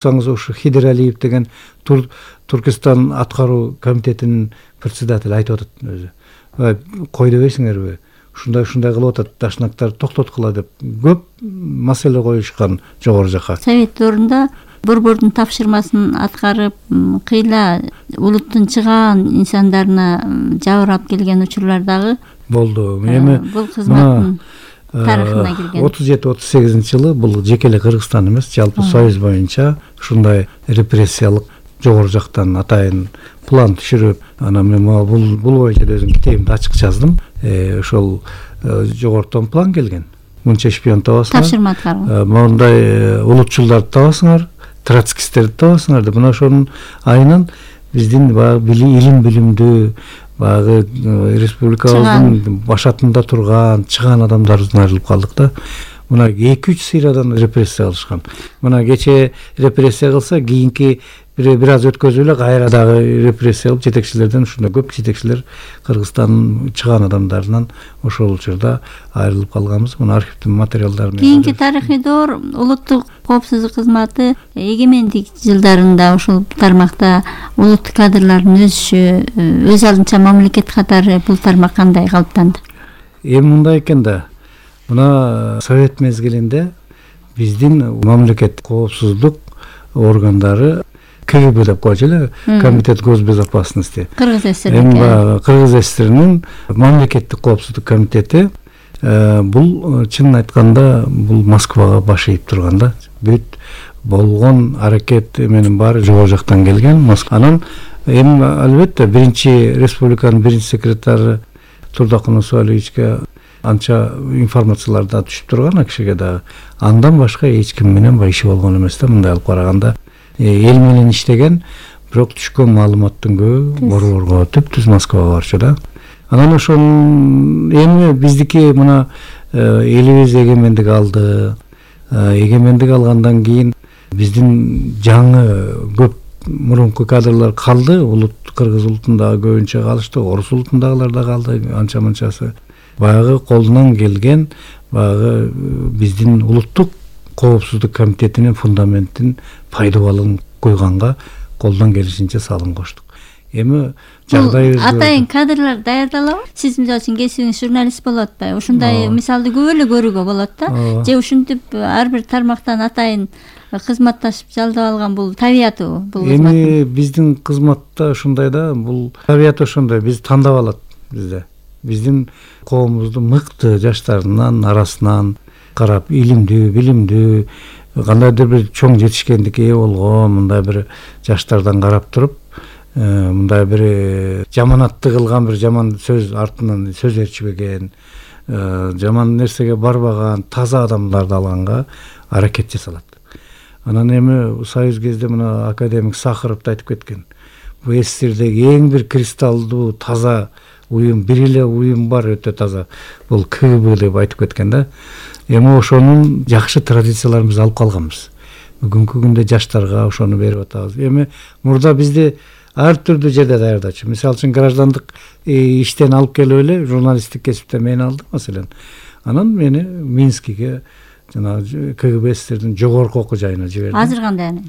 ушу Хидер Алиев деген Туркистан аткаруу комитетинин председатели айтып атат өзү. Кой дебейсиңерби? Ушундай кылып атат, дашнактар токтоткула деп көп маселе коюшкан жогору жака. Совет дорунда борбордун тапшырмасын аткарып, кыйла улуттун чыгаан инсандарына жабырап келген учурлар дагы болду. Эми бул кызматтын тарыхына кирген. 37-38-жылы бул жеке эле Кыргызстан эмес, жалпы Союз боюнча ушундай репрессиялык жогору жактан атайын план түшүрүп, анан мен бул боюнча өзүм китебимде ачык жаздым. Ошол жогортон план келген. Мынча шпион табасыңар. Тапшырма аткарган. Мондай улутчулдарды табасыңар, троцкисттерди табасыңар деп. Мына ошонун айынан биздин баягы илим билимдүү, баягы республикабыздын башатында турган чыгаан адамдарыбыздан айрылып калдык да. Мына 2-3 сыйрадан репрессия кылышкан. Мына кече репрессия кылса, кийинки бир аз өткөзүп эле кайра дагы репрессия кылып жетекчилерден ушундай көп жетекчилер Кыргызстандын чыгаан адамдарынан ошол учурда айрылып калганбыз. Мына архивдин материалдары менен. Кийинки тарыхый доор улуттук коопсуздук кызматы эгемендик жылдарында ушул тармакта улуттук кадрлардын өсүшү, өз алдынча мамлекет катары бул тармак кандай калыптанды? Эми мындай экен да. Мына совет мезгилинде биздин мамлекет коопсуздук органдары КГБ деп койчу эле, Комитет госбезопасности. Кыргыз ССР. Эми Кыргыз ССРнин мамлекеттик коопсуздук комитети бул чынын айтканда бул Москвага баш ийип турган да. Бүт болгон аракет менин баары жогору жактан келген. Анан эми албетте биринчи республиканын биринчи секретары Турдакун Усуалиевичке анча информациялар да түшүп турган акшеге дагы. Андан башка эч ким менен иши болгон эмес да, мындай алып караганда. Эл менен иштеген, бирок түшкөн маалыматтын көбү борборго өтүп, түз Москвага барчу да. Анан ошон эми биздики мына элибиз эгемендик алды. Эгемендик алгандан кийин биздин жаңы көп мурунку кадрлар калды. Кыргыз улутундагы көбүнчө калышты, орус улутундагылар да калды, анча-мынчасы. Баягы колунан келген, баягы биздин улуттук коопсуздук комитетинин фундаментин пайдаланып койганга колдон келишинче салым коштук. Эми жагдайыбыз атайын кадрлар даярдалабы? Сиз мисалы үчүн кесибиңиз журналист болуп атпайбы? Ушундай мисалды көп эле көрүүгө болот да. Же ушинтип ар бир тармактан атайын кызматташып жалдап алган бул табияты бул кызмат. Эми биздин кызматта ушундай да, бул табияты ошондой, биз тандап алат бизде. Биздин коомубуздун мыкты жаштарынын арасынан карап, илимдүү, билимдүү, кандайдыр бир чоң жетишкендикке ээ болгон мындай бир жаштардан карап туруп, мындай бир жаманатты кылган, бир жаман сөз артынан сөз ээрчибеген, жаман нерсеге барбаган таза адамдарды алганга аракет жасалат. Анан эми Союз кезде мына академик Сахаров да айтып кеткен. Бул СССРдеги эң бир кристалдуу таза уюм, бир эле уюм бар, өтө таза. Бул КГБ деп айтып кеткен да. Эми ошонун жакшы традицияларын алып калганбыз. Бүгүнкү күндө жаштарга ошону берип атабыз. Эми мурда бизди ар түрдүү жерде даярдачу. Мисалы үчүн граждандык иштен алып келип эле журналисттик кесипте мени алды, маселен. Анан мени Минскиге, жана КГБ СССРдин жогорку окуу жайына жиберди. Азыр кандай?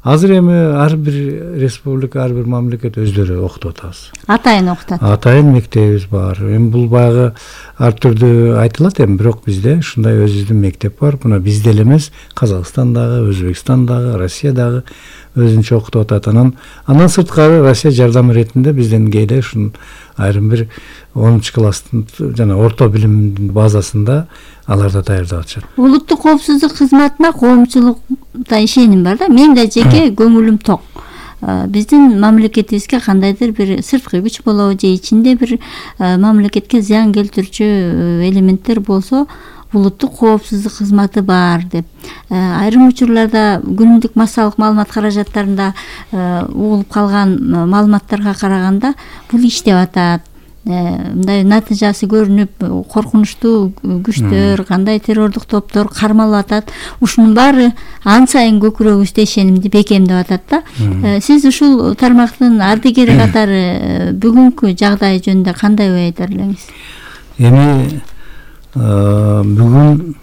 Азыр эми ар бир республика, ар бир мамлекет өздөрү окутуп атабыз. Атайын окутат. Атайын мектебибиз бар. Эми бул баягы ар түрдүү айтылат эми, бирок бизде ушундай өзүбүздүн мектеп бар. Мына бизде эле эмес, Казакстандагы, Өзбекстандагы, Россиядагы өзүнчө окутуп атат. Андан сырткары Россия жардамы иретинде бизден кээде ушун айрым бир 10 класстын жана орто билимдин базасында алар да даярдап атышат. Улуттук коопсуздук кызматына коомчулукта ишеним бар да. Мен да жеке көңүлүм ток. Биздин мамлекетибизге кандайдыр бир сырткы күч болобу же ичинде бир мамлекетке зыян келтирүүчү элементтер болсо, улуттук коопсуздук кызматы бар деп. Айрым учурларда күнүмдүк массалык маалымат каражаттарында угулуп калган маалыматтарга караганда бул иштеп атат. Мындай натыйжасы көрүнүп, коркунучтуу күчтөр, кандай террордук топтор кармалып атат. Ушунун баары ан сайын көкүрөгүбүздө ишенимди бекемдеп атат да. Сиз ушул тармактын ардыгери катары бүгүнкү жагдай жөнүндө кандай ой айтар элеңиз? Эми бүгүн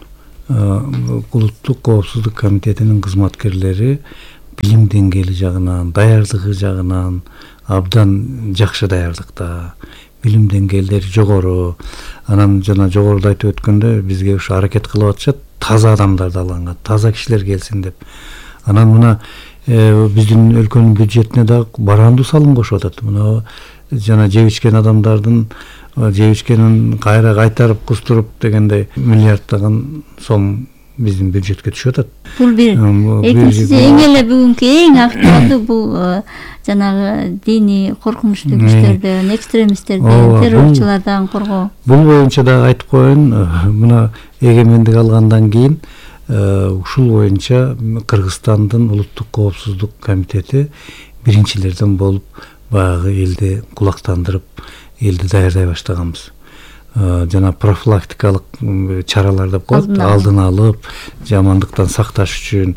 улуттук коопсуздук комитетинин кызматкерлери билим деңгээли жагынан, даярдыгы жагынан абдан жакшы даярдыкта, билим деңгээлдери жогору. Анан жана жогоруда айтып өткөндө бизге ушу аракет кылып атышат, таза адамдарды алганга, таза кишилер келсин деп. Анан мына биздин өлкөнүн бюджетине да барандуу салым кошуп атат. Мына жана жеп ичкен адамдардын жеп ичкенин кайра кайтарып кустуруп дегендей миллиарддаган сом биздин бюджетке түшүп атат. Бул бир экинчиси эң эле бүгүнкү эң актуалдуу бул жанагы диний коркунучтуу күчтөрдөн, экстремисттерден, террорчулардан коргоо. Бул боюнча да айтып коеюн, мына эгемендик алгандан кийин ушул боюнча Кыргызстандын улуттук коопсуздук комитети биринчилерден болуп баягы элди кулактандырып, элди даярдай баштаганбыз. Жана профилактикалык чаралар деп коет, алдын алып, жамандыктан сакташ үчүн.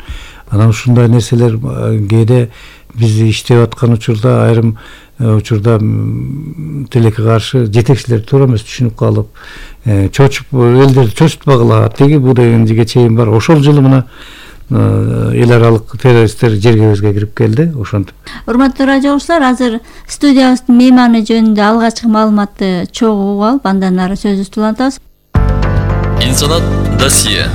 Анан ушундай нерселер кээде биз иштеп аткан учурда айрым учурда тилекке каршы жетекчилер туура эмес түшүнүп калып, чочуп элдерди чочутпагыла, тиги бу дегенге чейин бар. Ошол жылы мына эл аралык террористтер жергебизге кирип келди, ошентип. Урматтуу радио угуучулар, азыр студиябыздын мейманы жөнүндө алгачкы маалыматты чогуу угуп алып, андан ары сөзүбүздү улантабыз. Инсанат досье.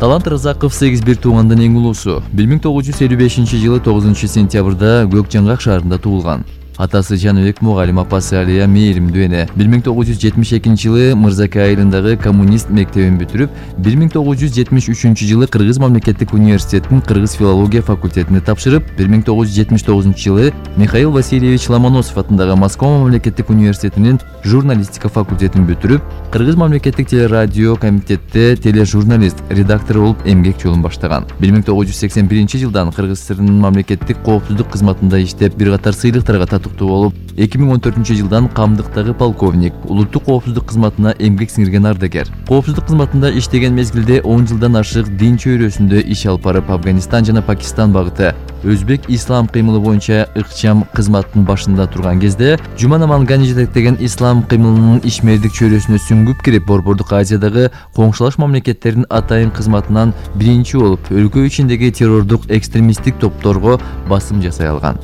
Талант Разаков 8-1 туугандын эң улуусу. 1955-жылы 9-сентябрда Көк Жаңгак шаарында туулган. Атасы Жаныбек мугалим, апасы Алия мээримдүү эне. 1972-жылы Мырзаке айылындагы коммунист мектебин бүтүрүп, 1973-жылы Кыргыз мамлекеттик университетинин кыргыз филология факультетине тапшырып, 1979-жылы Михаил Васильевич Ломоносов атындагы Москва мамлекеттик университетинин журналистика факультетин бүтүрүп, Кыргыз мамлекеттик телерадио комитетте тележурналист, редактор болуп эмгек жолун баштаган. 1981-жылдан Кыргыз ССРнын мамлекеттик коопсуздук кызматында иштеп, бир катар сыйлыктарга татыктуу болуп, 2014-жылдан камдыктагы полковник, улуттук коопсуздук кызматына эмгек сиңирген ардагер. Коопсуздук кызматында иштеген мезгилде 10 жылдан ашык дин чөйрөсүндө иш алып барып, Афганистан жана Пакистан багыты өзбек ислам кыймылы боюнча ыкчам кызматтын башында турган кезде, Жуман Амангани жетектеген ислам кыймылынын ишмердик чөйрөсүнө сүңгүп кирип, Борбордук Азиядагы коңшулаш мамлекеттердин атайын кызматынан биринчи болуп, өлкө ичиндеги террордук экстремисттик топторго басым жасай алган.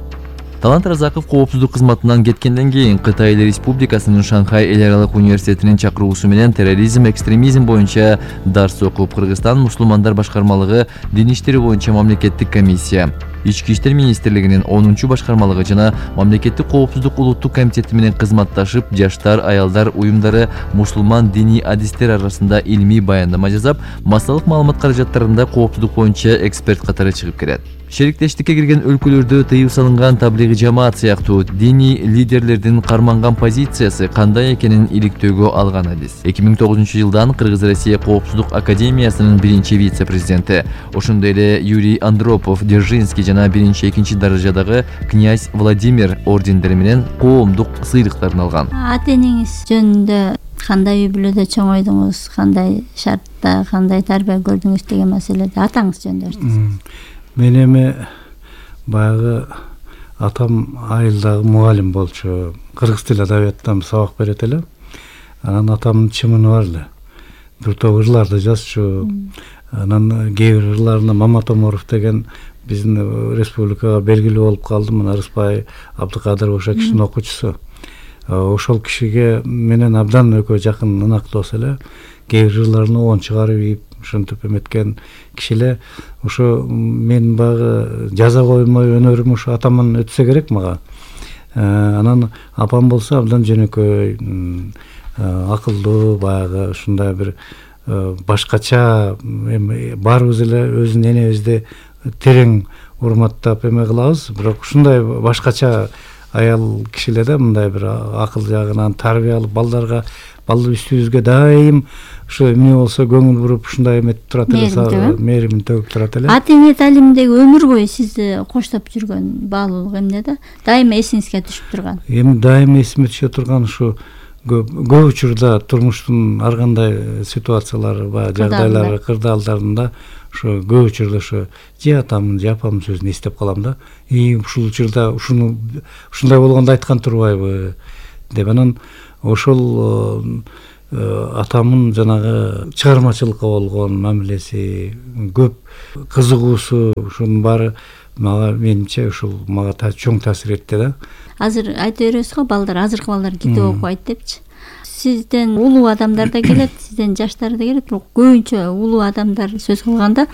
Талант Разаков коопсуздук кызматынан кеткенден кийин Кытай Эл Республикасынын Шанхай эл аралык университетинин чакыруусу менен терроризм, экстремизм боюнча дарс окуп, Кыргызстан мусулмандар башкармалыгы дин иштери боюнча мамлекеттик комиссия, Ички иштер министрлигинин 10-чу башкармалыгы жана мамлекеттик коопсуздук улуттук комитети менен кызматташып, жаштар, аялдар уюмдары мусулман диний адистер арасында илмий баяндама жасап, массалык маалымат каражаттарында коопсуздук боюнча эксперт катары чыгып келет. Шериктештикке кирген өлкөлөрдө тыюу салынган таблигый жамаат сыяктуу диний лидерлердин карманган позициясы кандай экенин иликтөөгө алган адис. 2009-жылдан Кыргыз-Россия коопсуздук академиясынын биринчи вице-президенти, ошондой эле Юрий Андропов, Держинский жана биринчи-экинчи даражадагы князь Владимир ордендери менен коомдук сыйлыктарын алган. Ата-энеңиз жөнүндө кандай үй бүлөдө чоңойдуңуз, кандай шартта, кандай тарбия көрдүңүз деген маселеде атаңыз жөнүндө айтыңыз. Мен эми баягы атам айылдагы мугалим болчу, кыргыз тил адабияттан сабак берет эле. Анан атамдын чымыны бар эле. Бир топ ырларды жазчу. Анан кээ бир ырларына Маматоморов деген биздин республикага белгилүү болуп калды. Мына Рыспай Абдыкадыр ошо кишинин окуучусу. Ошол кишиге менен абдан экөө жакын ынактоос эле. Кээ бир ырларына оон чыгарып ийип, ошентип эметкен киши эле. Ошо мен багы жаза коймой өнөрүм ошо атаман өтсө керек мага. Анан апам болсо абдан жөнөкөй, акылдуу, баягы ушундай бир башкача, эми баарыбыз эле өзүн энебизди терең урматтап эме кылабыз, бирок ушундай башкача аял киши эле да, мындай бир акыл жагынан тарбиялуу балдарга, балдар үстүбүзгө дайым ушу эмне болсо көңүл буруп ушундай эметип турат эле, мээримин төгүп турат эле. Ата эне талиминдеги өмүр бою сизди коштоп жүргөн баалуулук эмне да? Дайыма эсиңизге түшүп турган. Эми дайыма эсиме түшө турган ушу көп учурда турмуштун ар кандай ситуациялары, баягы жагдайлары, кырдаалдарында ошо көп учурда ошо же атамдын же апамдын сөзүн эстеп калам да. Ушул учурда ушундай болгондо айткан турбайбы деп. Анан ошол атамдын жанагы чыгармачылыкка болгон мамилеси, көп кызыгуусу, ушунун баары мага менимче ушул мага чоң таасир этти да. Азыр айта бересиз го, балдар, азыркы балдар китеп окубайт депчи. Сизден улуу адамдар да келет, сизден жаштар да келет, бирок көбүнчө улуу адамдар сөз кылганда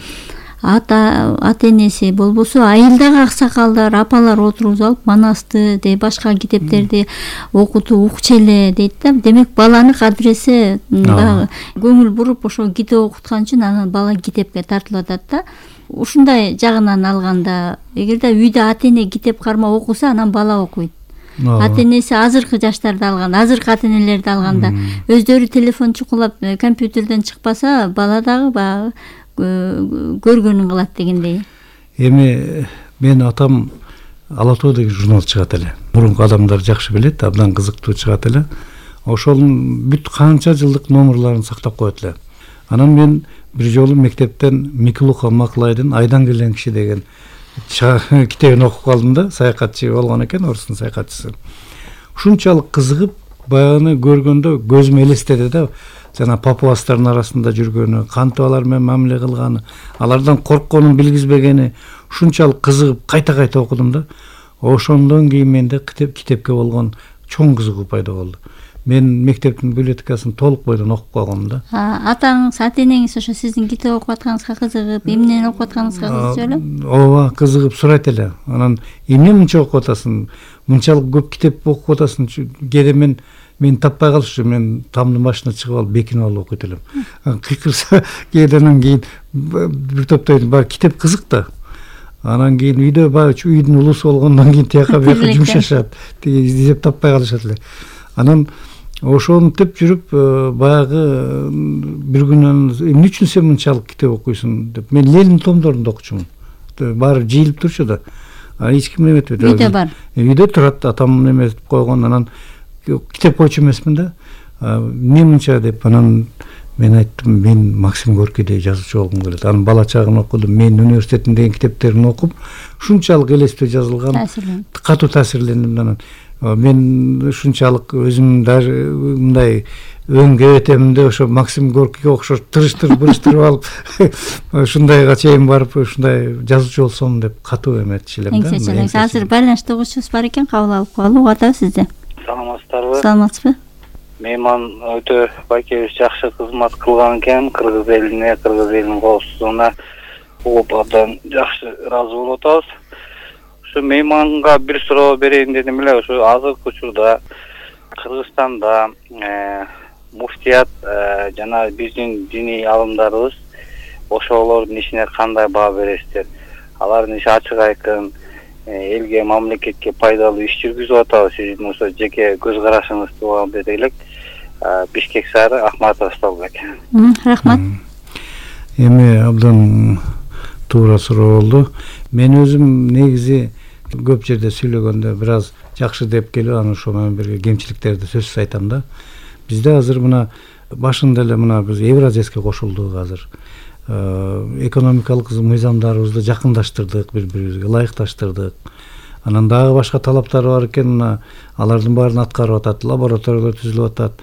ата энеси болбосо айылдагы аксакалдар, апалар отургузуп алып манасты де башка китептерди окутуп укчу эле дейт да. Демек баланы кадыресе дагы көңүл буруп ошо китеп окуткан үчүн анан бала китепке тартылып атат да. Ушундай жагынан алганда, эгерде үйдө ата эне китеп кармап окуса, анан бала окуйт. Ата энеси азыркы жаштарды алганда, азыркы ата энелерди алганда, өздөрү телефон чукулап, компьютерден чыкпаса, бала дагы баягы көргөнүн кылат дегендей. Эми менин атам Ала тоо деген журнал чыгат эле. Мурунку адамдар жакшы билет, абдан кызыктуу чыгат эле. Ошонун бүт канча жылдык номерларын сактап коет эле. Анан мен бир жолу мектептен Миклуха Маклайдын Айдан келген киши деген китебин окуп калдым да, саякатчы болгон экен, орустун саякатчысы. Ушунчалык кызыгып, баягыны көргөндө көзүм элестеди да, жана папуастардын арасында жүргөнү, кантип алар менен мамиле кылганы, алардан коркконун билгизбегени, ушунчалык кызыгып кайта окудум да. Ошондон кийин менде китепке болгон чоң кызыгуу пайда болду. Мен мектептин библиотекасын толук бойдон окуп калгам да. Атаңыз, ата энеңиз ошо сиздин китеп окуп атканыңызга кызыгып, эмнени окуп атканыңызга кызыгып эле? Ооба, кызыгып сурайт эле. Анан эмне мынча окуп атасың? Мынчалык көп китеп окуп атасың? Кээде мен таппай калышчу, мен тамдын башына чыгып алып, бекинип алып окуйт элем. Кыйкырса, кээден кийин бир топтойдун баягы китеп кызык да. Анан кийин үйдө баягы үйдүн улусу болгондон кийин тияка бияка жумшашат, издеп таппай калышат эле. Анан ошентип жүрүп, баягы бир күнү эмне үчүн сен мынчалык китеп окуйсуң деп, мен Ленин томдорун окучумун. Баары жыйылып турчу да. Эч ким эметпейт. Үйдө бар. Үйдө турат, атам эметип койгон, анан китеп окуучу эмесмин да. Эмне мынча деп, анан мен айттым, мен Максим Горкийдей жазуучу болгум келет. Анын бала чагын окудум, мен университеттин деген китептерин окуп, ушунчалык элестүү жазылган, катуу таасирлендим. Анан мен ушунчалык өзүм даже мындай өңгө этемде ошо Максим Горкийге окшош бурыштырып алып, ушундайга чейин барып, ушундай жазуучу болсом деп катуу эметчү элем да. Азыр байланышта угуучубуз бар экен, кабыл алып коелу. Угуп атабыз сизди. Саламатсыздарбы? Саламатсызбы? Мейман өтө байкебиз жакшы кызмат кылган экен, кыргыз элине, кыргыз элинин коопсуздугуна угуп абдан жакшы ыраазы болуп атабыз. Ушу мейманга бир суроо берейин дедим эле. Ушу азыркы учурда Кыргызстанда муфтият жана биздин диний алымдарыбыз ошолордун ишине кандай баа бересиздер? Алардын иши ачык айкын, элге, мамлекетке пайдалуу иш жүргүзүп атабы? Сиздин ошо жеке көз карашыңызды угап бере элек. Бишкек шаары, Ахматов Столбек. Рахмат. Эми абдан туура суроо болду. Мен өзүм негизи көп жерде сүйлөгөндө бир аз жакшы деп келип, анан ошо менен бирге кемчиликтерди сөзсүз айтам да. Бизде азыр мына башында эле мына биз Евразияска кошулдук азыр. Экономикалык мыйзамдарыбызды жакындаштырдык, бири-бирибизге ылайыкташтырдык. Анан дагы башка талаптар бар экен, мына алардын баарын аткарып атат, лабораториялар түзүлүп атат.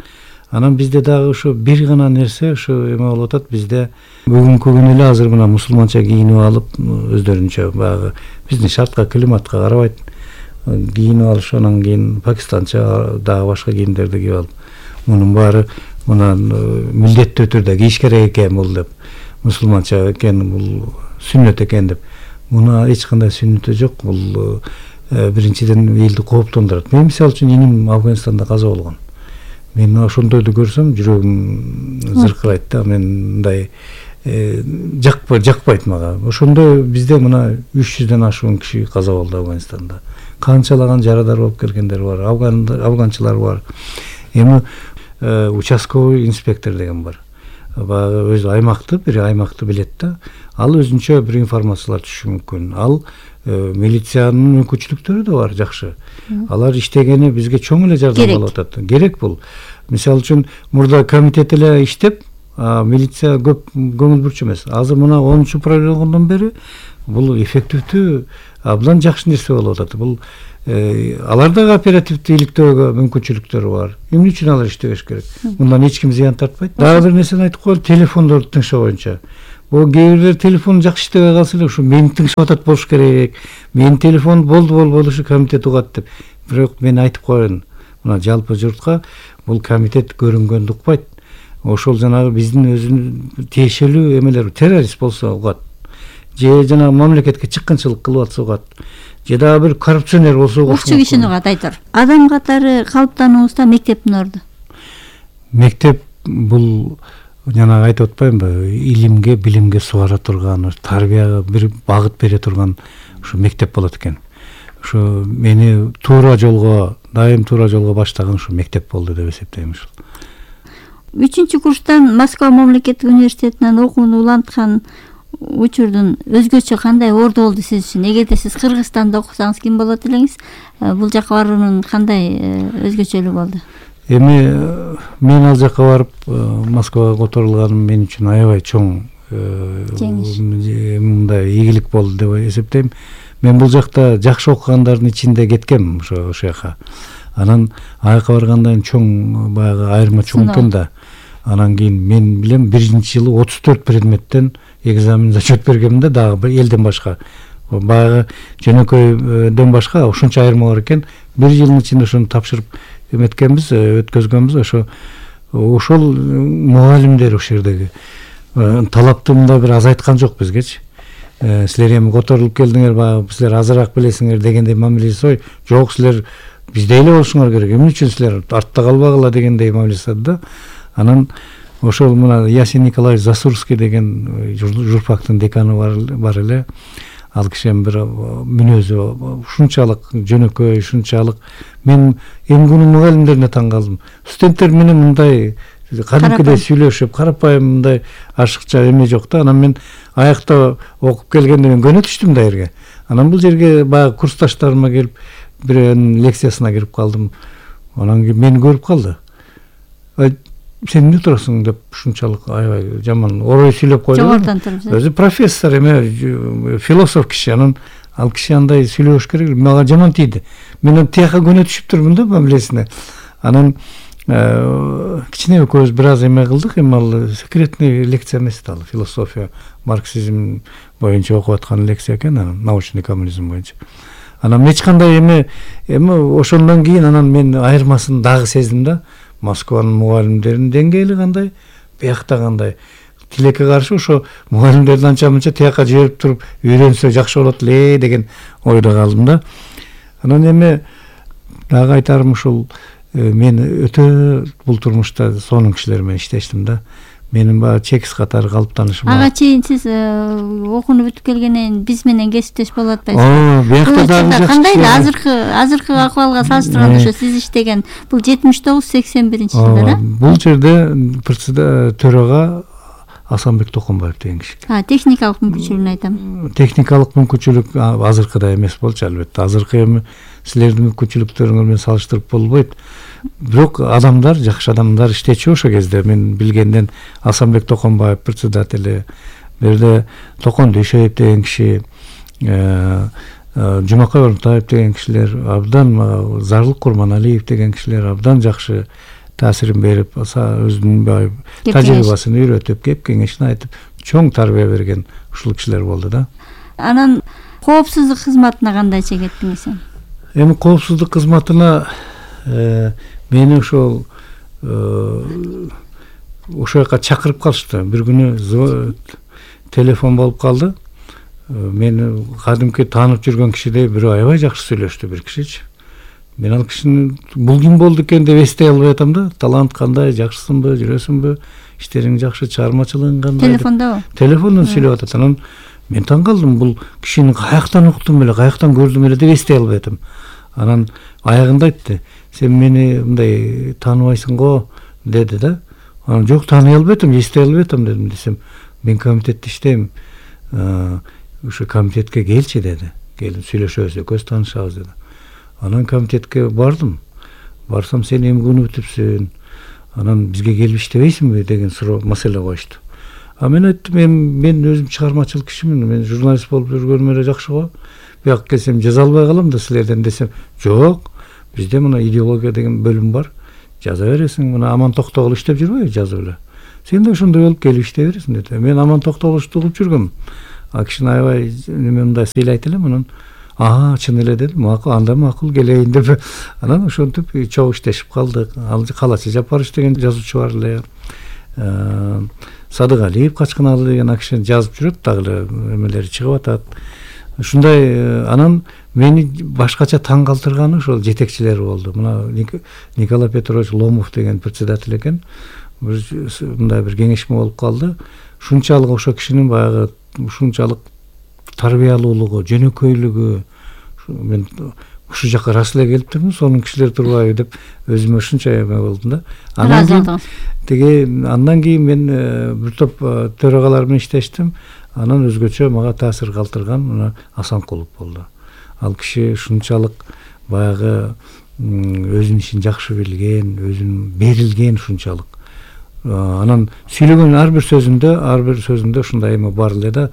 Анан бизде дагы ушу бир гана нерсе ушу эме болуп атат. Бизде бүгүнкү күнү эле азыр мына мусулманча кийинип алып, өздөрүнчө баягы биздин шартка, климатка карабайт кийинип алыш, анан кийин пакистанча дагы башка кийимдерди кийип алып, мунун баары мына милдеттүү түрдө кийиш керек экен бул деп, мусулманча экен, бул сүннөт экен деп. Муна эч кандай сүннөтү жок. Бул биринчиден элди кооптондурат. Мен мисалы үчүн иним Афганистанда каза болгон. Мен ошондойду көрсөм жүрөгүм зыркырайт да. Мен мындай жакпайт мага. Ошондой бизде мына 300дөн ашуун киши каза болду Афганистанда. Канчалаган жарадар болуп келгендер бар, афганчылар бар. Эми участковый инспектор деген бар. Баягы өзү аймакты, бир аймакты билет да. Ал өзүнчө бир информациялар түшүшү мүмкүн. Ал милициянын мүмкүнчүлүктөрү да бар жакшы. Алар иштегени бизге чоң эле жардам болуп атат. Керек бул. Мисалы үчүн мурда комитет эле иштеп, милиция көп көңүл бурчу эмес. Азыр мына 10 прайлоодон бери бул эффективдүү абдан жакшы нерсе болуп атат. Бул алар дагы оперативдүү иликтөөгө мүмкүнчүлүктөрү бар. Эмне үчүн алар иштебеш керек? Мындан эч ким зыян тартпайт. Дагы бир нерсени айтып коелу, телефондорду тыңшоо боюнча. Бул кээ бирлер телефон жакшы иштебей калса эле ушу мени тыңшап атат болуш керек. Менин телефон болду ушу комитет угат деп. Бирок мен айтып коеюн. Мына жалпы журтка бул комитет көрүнгөндү укпайт. Ошол жанагы биздин өзүнүн тиешелүү эмелер, террорист болсо угат. Же жанагы мамлекетке чыккынчылык кылып атса угат. Же дагы бир коррупционер болсо угат. Окчу кишини угат айтор. Адам катары калыптануубузда мектептин орду. Мектеп бул жанагы айтып атпаймынбы? Илимге, билимге сугара турган, тарбияга бир багыт бере турган ушу мектеп болот экен. Ушу мени дайым туура жолго баштаган ушу мектеп болду деп эсептейм ушул. 3-курстан Москва мамлекеттик университетинен окууну уланткан учурдун өзгөчө кандай орду болду сиз үчүн? Эгерде сиз Кыргызстанда окусаңыз ким болот элеңиз? Бул жака баруунун кандай өзгөчөлүгү болду? Эми мен ал жака барып Москвага которулганым мен үчүн аябай чоң мындай ийгилик болду деп эсептейм. Мен бул жакта жакшы окугандардын ичинде кеткем ошо жака. Анан аяка баргандан чоң баягы айырма чоң экен да. Анан кийин мен билем 1-жылы 34 предметтен экзамен зачет бергем да, дагы элден башка. Баягы жөнөкөйдөн башка ушунча айырма бар экен. 1 жылдын ичинде ошону тапшырып эметкенбиз, өткөзгөнбүз. Ошол мугалимдер ошол жердеги талапты мындай бир азайткан жок бизгечи. Силер эми которулуп келдиңер, баягы силер азыраак билесиңер дегендей мамиле жасабай, жок силер бизде эле болушуңар керек. Эмне үчүн силер артта калбагыла дегендей мамиле жасады да. Анан ошол мына Ясин Николаевич Засурский деген журфактын деканы бар эле. Ал кишинин бир мүнөзү ушунчалык жөнөкөй, ушунчалык мен эмгүүнүн мугалимдерине таң калдым. Студенттер менен мындай кадимкидей сүйлөшүп, карапайым мындай ашыкча эме жок да. Анан мен аякта окуп келгенде мен көнө түштүм да жерге. Анан бул жерге баягы курсташтарыма келип бирөөнүн лекциясына кирип калдым. Анан кийин мени көрүп калды. Сен эмне турасың деп ушунчалык аябай жаман орой сүйлөп койду. Жогорудон туруп. Өзү профессор эме, философ киши. Анан ал киши андай сүйлөш керек. Мага жаман тийди. Мен тияка көнө түшүп турмун да мамилесине. Анан кичине экөөбүз бир аз эме кылдык, эми ал секретный лекция эмес да, философия, марксизм боюнча окуп аткан лекция экен, научный коммунизм боюнча. Анан эч кандай эми ошондон кийин анан мен айырмасын дагы сездим да. Москванын мугалимдеринин деңгээли кандай, биякта кандай. Тилекке каршы ошо мугалимдерди анча-мынча тияка жиберип туруп үйрөнсө жакшы болот эле деген ойдо калдым да. Анан эми дагы айтарым ушул мен өтө бул турмушта сонун кишилер менен иштештим да. Менин баягы чекис катары калыптанышым. Ага чейин сиз окууну бүтүп келгенден биз менен кесиптеш болуп атпайсызбы? Биякта дагы кандай азыркы акыбалга салыштырганда ошо сиз иштеген бул 79-81-жылдары? Бул жерде төрага Асанбек Токонбаев деген киши. Техникалык мүмкүнчүлүгүн айтам. Техникалык мүмкүнчүлүк азыркыдай эмес болчу албетте. Азыркы эми силердин мүмкүнчүлүктөрүңөр менен салыштырып болбойт. Бирок адамдар, жакшы адамдар иштечү ошо кезде. Мен билгенден Асанбек Токонбаев председатели, берде Токон Дүйшөев деген киши, Жумакай Орунтаев деген кишилер, абдан Зарлык Курманалиев деген кишилер абдан жакшы таасирин берип, өзүнүн тажрыйбасын үйрөтүп, кеп кеңешин айтып, чоң тарбия берген ушул кишилер болду да. Анан коопсуздук кызматына кандайча кеттиңиз? Эми коопсуздук кызматына мени ошол жака чакырып калышты. Бир күнү телефон болуп калды. Мени кадимки таанып жүргөн кишидей бирөө аябай жакшы сүйлөштү, бир кишичи. Мен ал кишини бул ким болду экен деп эстей албай атам да. Талант кандай, жакшысыңбы, жүрөсүңбү, иштериң жакшы, чыгармачылыгың кандай? Телефондобу? Телефондон сүйлөп атат. Анан мен таң калдым, бул кишини каяктан уктум эле, каяктан көрдүм эле деп эстей албай атам. Анан аягында айтты: "Сен мени мындай тааныбайсың го" деди да. Анан жок, тааный албай атам, эстей албай атам дедим. Десем, мен комитетте иштейм. Ошо комитетке келчи деди. Келип сүйлөшөбүз, экөөбүз таанышабыз деди. Анан комитетке бардым. Барсам, сен эмгүүнү бүтүпсүң. анан бизге келип иштебейсиңби деген суроо маселе коюшту. Мен айттым, мен өзүм чыгармачыл кишимин, мен журналист болуп жүргөнүм эле жакшы го. Бияка келсем жаза албай калам да силерден десем, жок, бизде мына идеология деген бөлүм бар, жаза бересиң, мына Аман Токтогул иштеп жүрбөйбү жазып эле. Сен да ошондой болуп келип иштей бересиң деди. Мен Аман Токтогулду угуп жүргөм. А кишини аябай неме мындай сыйлайт элем, анан чын эле дедим, макул, анда макул келейин деп. Анан ошентип чогуу иштешип калдык. Ал Калачы Жапарович деген жазуучу бар эле. Садыгалиев Качканалы деген киши жазып жүрөт, дагы эле эмелери чыгып атат. Ушундай анан мени башкача таң калтырганы ошол жетекчилери болду. Мына Николай Петрович Ломов деген председатель экен. Мындай бир кеңешме болуп калды. Ушунчалык ошо кишинин баягы ушунчалык тарбиялуулугу, жөнөкөйлүгү, мен ушу жака рас эле келип турмун, сонун кишилер турбайбы деп өзүмө ушунча эме болдум да. Андан кийин мен бир топ төрагалар менен иштештим. Анан өзгөчө мага таасир калтырган мына Асанкулов болду. Ал киши ушунчалык баягы өзүнүн ишин жакшы билген, өзүнүн берилген ушунчалык. Анан сүйлөгөн ар бир сөзүндө ушундай эме бар эле да,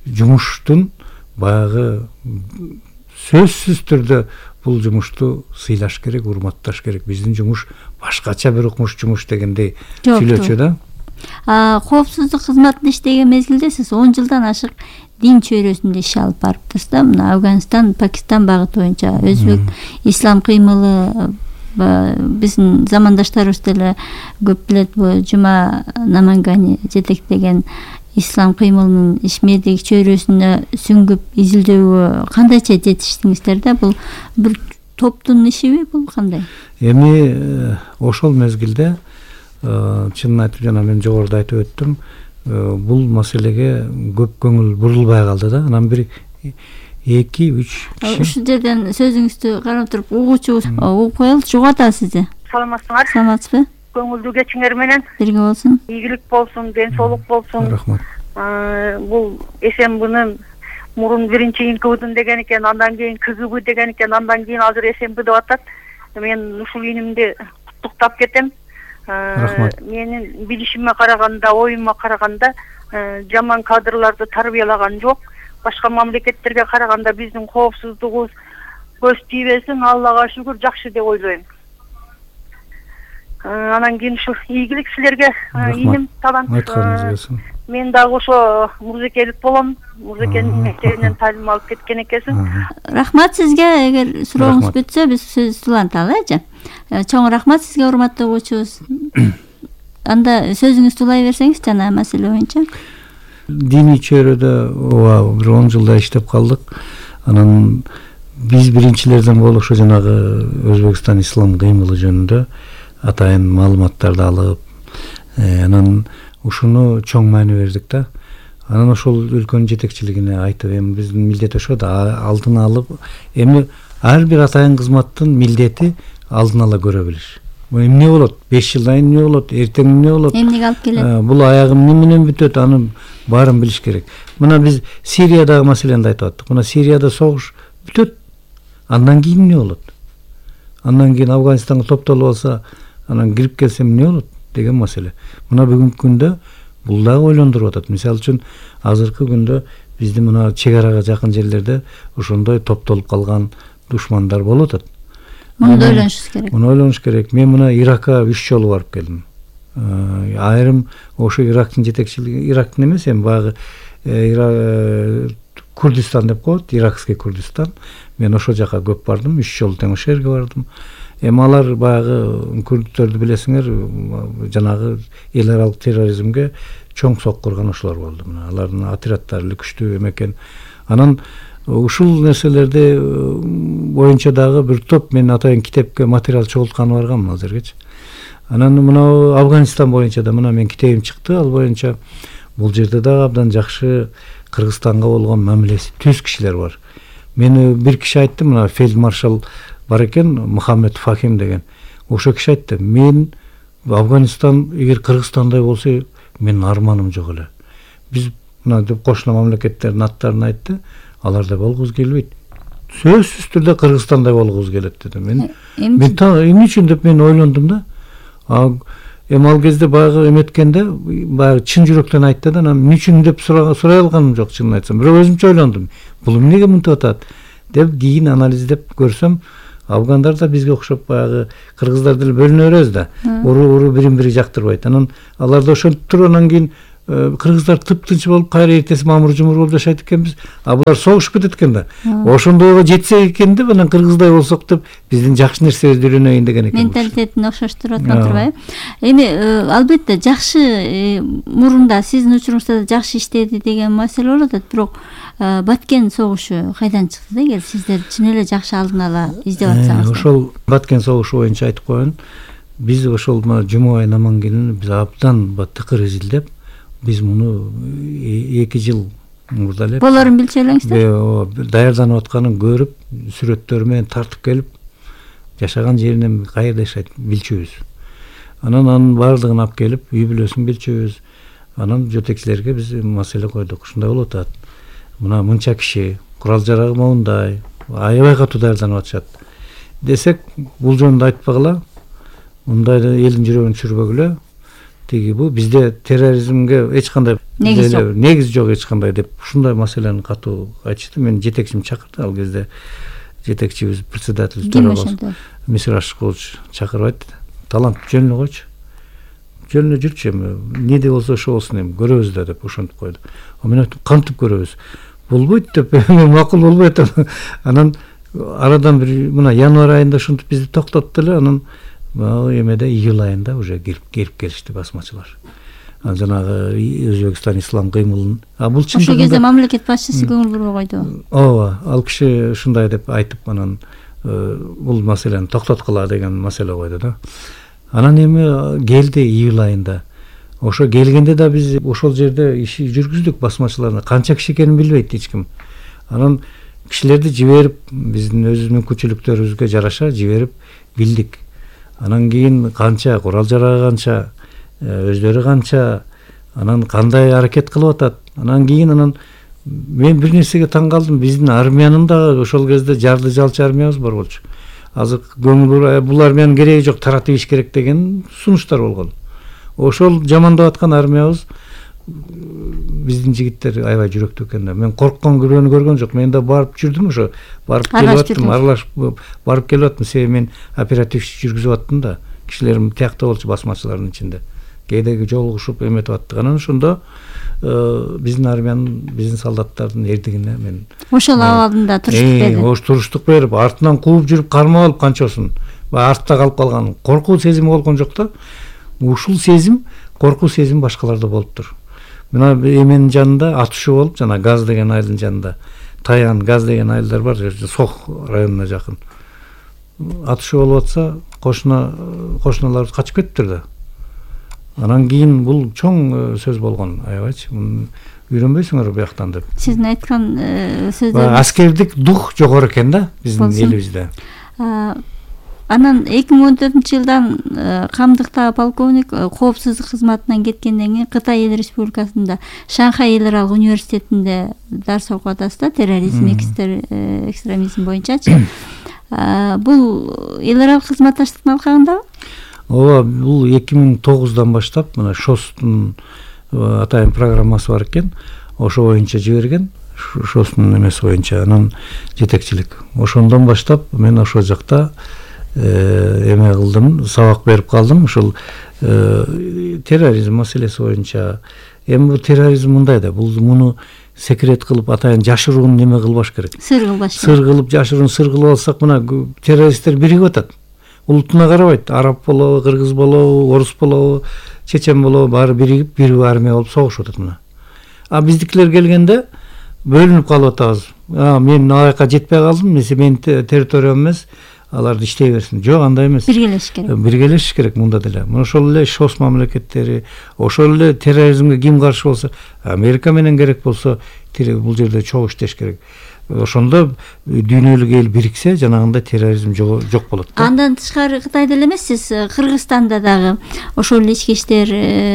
жумуштун баягы сөзсүз түрдө бул жумушту сыйлаш керек, урматташ керек. Биздин жумуш башкача бир укмуш жумуш дегендей сүйлөчү да. Коопсуздук кызматында иштеген мезгилде сиз 10 жылдан ашык дин чөйрөсүндө иш алып барыптырсыз да. Мына Афганистан, Пакистан багыты боюнча өзбек ислам кыймылы биздин замандаштарыбыз деле көп билет, бул Жума Намангани жетектеген ислам кыймылынын ишмердик чөйрөсүнө сүңгүп изилдөөгө кандайча жетиштиңиздер да? Бул бир топтун ишиби, бул кандай? Эми ошол мезгилде чынын айтып, жана мен жогоруда айтып өттүм, бул маселеге көп көңүл бурулбай калды да. Анан бир 2-3 киши. Ушул жерден сөзүңүздү карап туруп угуучубуз угуп коелучу. Угатабыз сизди. Саламатсыңар? Саламатсызбы? Көңүлдүү кечиңер менен. Бирге болсун. Ийгилик болсун, ден соолук болсун. Рахмат. Бул СМБнын мурун биринчи ИНКБдын деген экен, андан кийин КГБ деген экен, андан кийин азыр СМБ деп атат. Мен ушул инимди куттуктап кетем. Рахмат. Менин билишиме караганда, оюма караганда жаман кадрларды тарбиялаган жок. Башка мамлекеттерге караганда биздин коопсуздугубуз көз тийбесин, Аллага шүгүр, жакшы деп ойлойм. Анан кийин ушу ийгилик силерге, иним талант. Мен дагы ошо мурзекелик болом. Мурзекенин мектебинен таалим алып кеткен экенсиң. Рахмат сизге. Эгер сурооңуз бүтсө, биз сөз уланталы, эже. Чоң рахмат сизге, урматтуу угуучубуз. Анда сөзүңүздү улай берсеңиз жана маселе боюнча. Диний чөйрөдө бир 10 жылда иштеп калдык. Анан биз биринчилерден болуп ошо жанагы Өзбекстан ислам кыймылы жөнүндө атайын маалыматтарды алып, анан ушуну чоң маани бердик да. Анан ошол өлкөнүн жетекчилигине айтып, эми биздин милдет ошо да, алдын алып, эми ар бир атайын кызматтын милдети алдын ала көрө билиш. Эмне болот? 5 жылдан кийин эмне болот? Эртең эмне болот? Эмнеге алып келет? Бул аягы эмне менен бүтөт? Аны баарын билиш керек. Мына биз Сириядагы маселени айтып аттык. Мына Сирияда согуш бүтөт. Андан кийин эмне болот? Андан кийин Афганистанга топтолуп алса, анан кирип келсе эмне болот деген маселе. Мына бүгүнкү күндө бул дагы ойлондуруп атат. Мисалы үчүн азыркы күндө биздин мына чек арага жакын жерлерде ошондой топтолуп калган душмандар болуп атат. Муну ойлонушубуз керек. Муну ойлонуш керек. Мен мына Иракка 3 жолу барып келдим. Айрым ошо Ирактын жетекчилиги, Ирактын эмес, эми баягы Курдистан деп коет, Иракский Курдистан. Мен ошол жака көп бардым, 3 жолу тең ошол жерге бардым. Эми алар баягы курдтөрдү билесиңер, жанагы эл аралык терроризмге чоң соккурган ошолор болду. Мына алардын отряддары күчтүү экен. Анан ушул нерселерди боюнча дагы бир топ мен атайын китепке материал чогултканы баргам азыргычы. Анан мына Афганистан боюнча да мына мен китебим чыкты, ал боюнча бул жерде дагы абдан жакшы Кыргызстанга болгон мамилеси түз кишилер бар. Мени бир киши айтты, мына фельдмаршал бар экен, Мухаммед Фахим деген. Ошо киши айтты, мен Афганистан эгер Кыргызстандай болсо, менин арманым жок эле. Биз мына деп кошуна мамлекеттердин аттарын айтты, алардай болгубуз келбейт. Сөзсүз түрдө Кыргызстандай болгубуз келет деди. Мен эмне үчүн деп мен ойлондум да. Эми ал кезде баягы эметкенде баягы чын жүрөктөн айтты да, анан эмне үчүн деп сурай алганым жок, чынын айтсам. Бирок өзүмчө ойлондум. Бул эмнеге мынтип атат деп кийин анализдеп көрсөм, афгандар да бизге окшоп баягы кыргыздар деле бөлүнө беребиз да. Уру бирин бири жактырбайт. Анан алар да ошентип туруп, анан кийин кыргыздар тыптынч болуп, кайра эртеси мамыр жумур болуп жашайт экенбиз. Булар согушуп кетет экен да. Ошондойго жетсек экен деп, анан кыргыздай болсок деп, биздин жакшы нерсебизди үйрөнөйүн деген экен. Менталитетин окшоштуруп аткан турбайбы? Эми албетте жакшы мурунда сиздин учуруңузда жакшы иштеди деген маселе болот, бирок Баткен согушу кайдан чыкты да, эгер сиздер чын эле жакшы алдын ала издеп атсаңыздар? Ошол Баткен согушу боюнча айтып коеюн. Биз ошол Жумабай Намангелдин биз абдан тыкыр изилдеп, биз муну 2 жыл мурда эле болорун билчү элеңиздер? Даярданып атканын көрүп, сүрөттөрү менен тартып келип, жашаган жеринен каерде жашайт билчүбүз. Анан баардыгын алып келип, үй бүлөсүн билчүбүз. Анан жетекчилерге биз маселе койдук. Ушундай болуп атат. Мына мынча киши, курал жарагы моундай, аябай катуу даярданып атышат десек, бул жөнүндө айтпагыла, мындай элдин жүрөгүн түшүрбөгүлө. Тиги бул бизде терроризмге эч кандай негиз жок эч кандай деп ушундай маселени катуу айтышты. Мен жетекчим чакырды ал кезде. Жетекчибиз председатель төрагасы Мисир Ашыкович чакырбайт. Талант жөнүнө койчу. Жөнүнө жүрчү, эми эмне болсо ошо болсун, эми көрөбүз да деп ошентип койду. Мен айттым, кантип көрөбүз? Болбойт деп, макул болбойт. Анан арадан бир мына январь айында ушинтип бизди токтотту эле, анан эмеде июль айында уже келип келишти басмачылар. Жанагы Өзбекстан ислам кыймылын. Бул чын. Ошол кезде мамлекет башчысы көңүл бурбой койду. Ооба, ал киши ушундай деп айтып, анан бул маселени токтоткула деген маселе койду да. Анан эми келди июль айында. Ошо келгенде да биз ошол жерде иш жүргүздүк басмачыларына. Канча киши экенин билбейт эч ким. Анан кишилерди жиберип, биздин өзүбүздүн мүмкүнчүлүктөрүбүзгө жараша жиберип билдик. Анан кийин канча курал жарагы, канча өздөрү канча, анан кандай аракет кылып атат. Анан кийин мен бир нерсеге таң калдым. Биздин армиянын да ошол кезде жарды жалчы армиябыз бар болчу. Азыр көңүл бул армиянын кереги жок, таратып иш керек деген сунуштар болгон. Ошол жамандап аткан армиябыз биздин жигиттер аябай жүрөктүү экен да. Мен корккон күрөөнү көргөн жок. Мен да барып жүрдүм, ошо барып келип аттым, аралашып барып келип аттым. Себеби мен оперативчи жүргүзүп аттым да. Кишилерим тиякта болчу басмачылардын ичинде. Кээде жолугушуп эметип аттык. Анан ошондо биздин армиянын, биздин солдаттардын эрдигине мен ошол абалында туруштук берди. Ош туруштук берип, артынан кууп жүрүп кармап алып канчосын. Артта калып калган. Коркуу сезими болгон жок да. Ушул сезим, коркуу сезим башкаларда болуптур. Мына эменин жанында атышуу болуп, жана Газ деген айылдын жанында. Таян, Газ деген айылдар бар, Сох районуна жакын. Атышуу болуп атса, кошуналар качып кетиптир да. Анан кийин бул чоң сөз болгон, аябайчы. Үйрөнбөйсүңөр бияктан деп. Сиздин айткан сөздөр аскердик дух жогору экен да биздин элибизде. Анан 2014-жылдан камдыкта полковник коопсуздук кызматынан кеткенден кийин Кытай Эл Республикасында Шанхай эл аралык университетинде дарс окуп атасыз да, терроризм, экстремизм боюнчачы. Бул эл аралык кызматташтыктын алкагындабы? Ооба, бул 2009-дан баштап мына ШОСтун атайын программасы бар экен. Ошо боюнча жиберген. ШОСтун эмеси боюнча анан жетекчилик. Ошондон баштап мен ошол жакта эме кылдым, сабак берип калдым. Ушул терроризм маселеси боюнча. Эми бул терроризм мындай да, бул муну секрет кылып атайын жашыруун неме кылбаш керек. Сыр кылбаш керек. Сыр кылып жашыруун сыр кылып алсак, мына террористтер биригип атат. Улутуна карабайт. Араб болобу, кыргыз болобу, орус болобу, чечен болобу, баары биригип, бир армия болуп согушуп атат мына. Биздикилер келгенде бөлүнүп калып атабыз. Мен аяка жетпей калдым, менин территориям эмес, аларды иштей берсин. Жок, андай эмес. Биргелешиш керек. Биргелешиш керек мында деле. Ошол эле ШОС мамлекеттери, ошол эле терроризмге ким каршы болсо, Америка менен керек болсо, бул жерде чогуу иштеш керек. Ошондо дүйнөлүк эл бириксе, жанагындай терроризм жок болот. Андан тышкары Кытайда эле эмес, сиз Кыргызстанда дагы ошол ички иштер